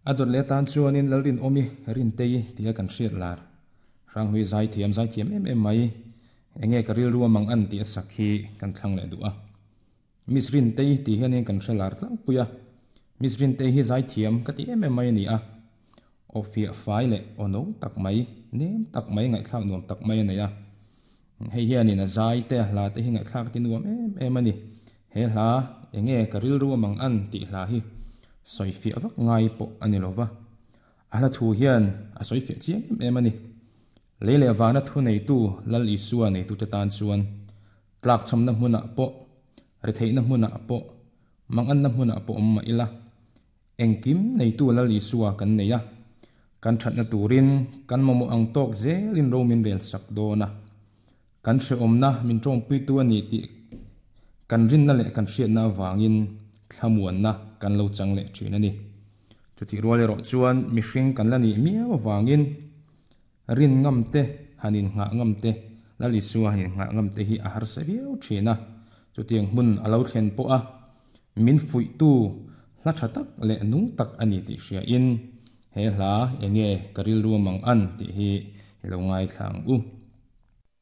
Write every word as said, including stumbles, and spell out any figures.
A dawt leh atan chuanin Lalrinawmi Rintei tia kan hriat lar Hranghlui zaithiam zaithiam em em mai enge ka rilru a mang an tih a sak hi kan thlang leh duh a. Miss Rintei tih hianin kan hre lar tlangpui a. Miss Rintei hi zaithiam ka ti em em mai a ni a. Aw fiah fai leh aw no tak mai, nem tak mai, ngaihthlak nuam tak mai a nei a. Hei hianin a zai te, a hla te hi ngaihthlak ti nuam em em a ni. He hla enge ka rilru a mang an tih hla hi sawi fiah vak ngai pawh a ni lo va. A hla thu hian a sawi fiah chiang em em a ni. Lei leh vana thu neitu Lal Isua neitute tan chuan tlakchhamna hmunah pawh, retheihna hmunah pawh, manganna hmunah pawh awm mah ila, engkim neitu Lal Isua kan nei a, kan thatna turin kan mamawh ang tawk zelin ro min rel sak dawn a. Kan hrehawmna min tawngpuitu a ni tih kan rinna leh kan hriatna avangin thlamuanna kan lo chang leh thin a ni. Chutih rual erawh chuan mihring kan la nih miau avangin rin ngam te, han innghah ngam te, Lal Isua han innghah ngam te hi a harsa viau thin a. Chutiang hmun a lo thlen pawh a, min fuihtu hla tha tak leh nung tak a ni tih hriain he hla enge ka rilru a mang an tih hi i lo ngaithla ang u.